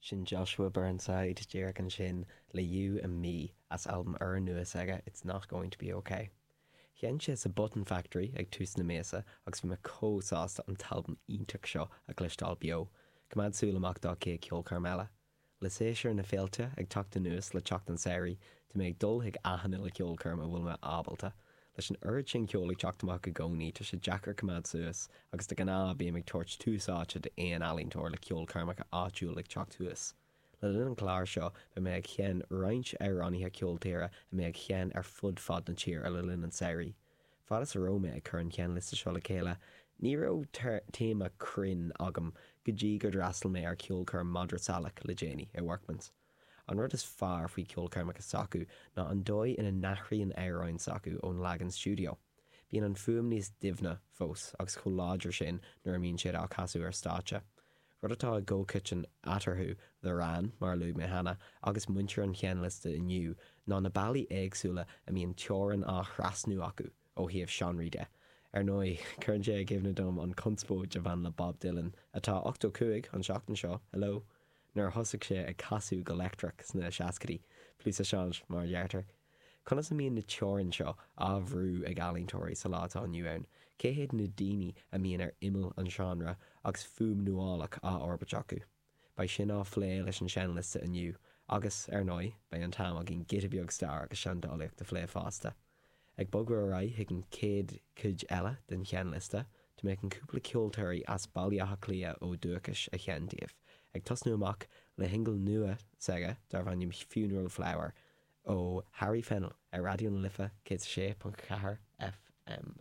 Sin Joshua Burnside díreach ansin le You and Me as albam úrnua s'aige It's Not Going To Be Ok. Sheinn sé sa Button Factory ag tús na míosa agus bhí mé chomh sásta an t-albam iontach seo a chloisteáil beo. Coimeád súil amach dá chéad cheolchoirm eile. Le séasúr na féilte ag teacht anuas le teacht an tsamhraidh, tá mé ag dul chuig achan uile cheolchoirm a bhfuil mé ábalta. Leis an oiread sin ceoil ag teacht amach i gcónaí, tá sé deacair coimeád suas, agus de ghnáth bím ag tabhairt tús áite d'aon ealaíontóir le ceolchoirmeacha áitiúil ag teacht thuas. Le linn an chláir seo, beidh mé ag seinm roinnt amhránaithe ceol tíre a mbeidh ag seinm ar fud fad na tíre le linn an tsamhraidh. Fad is a raibh mé ag cur an tseinnliosta seo le chéile, ní raibh téama cruinn agam go dtí gur d'fhreastail mé ar cheolchoirm Madra Salach le déanaí i Workman's. An rud is fearr faoi cheolchoirmeacha s'acu ná an dóigh ina n-athraíonn amhráin s'acu ón leagan stiúideo. Bíonn an fuaim níos doimhne fós agus chomh láidir sin nuair a mbíonn siad á casadh ar stáitse. Rud atá i gcomhchoiteann eatarthu, The Wran, mar a luaigh mé cheana, agus muintir an tseinnliosta inniu ná na bealaí éagsúla a mbíonn teorainn á thrasnú acu ó thaobh seánraí de. Ar ndóigh, cuireann sé i gcuimhne dom an chonspóid a bhain le Bob Dylan, atá 85 an tseachtain seo, hello! nuair a thosaigh sé ag casadh go leictreach sna seascaidí, plus ça change, mar a deirtear. Conas a mbíonn na teorainn seo á bhrú ag ealaíontóirí sa lá atá inniu ann? Cé hiad na daoine a mbíonn ar imeall an seánra agus fuaim nuálach á fhorbairt acu? Beidh sin á phlé leis an seinnliosta inniu agus, ar ndóigh, beidh an t-am againn giota beag stair agus seandálaíocht a phlé fosta. Ag bogadh ar aghaidh chuig an chéad chuid eile den sheinnliosta, tá mé chun cúpla ceoltóirí as Baile Átha Cliath ó dhúchas a sheinm daoibh, ag tosnú amach le shingil nua s'aige darb ainm Funeral Flower ó Harry Fennell ar Raidió na Life 106.4 FM.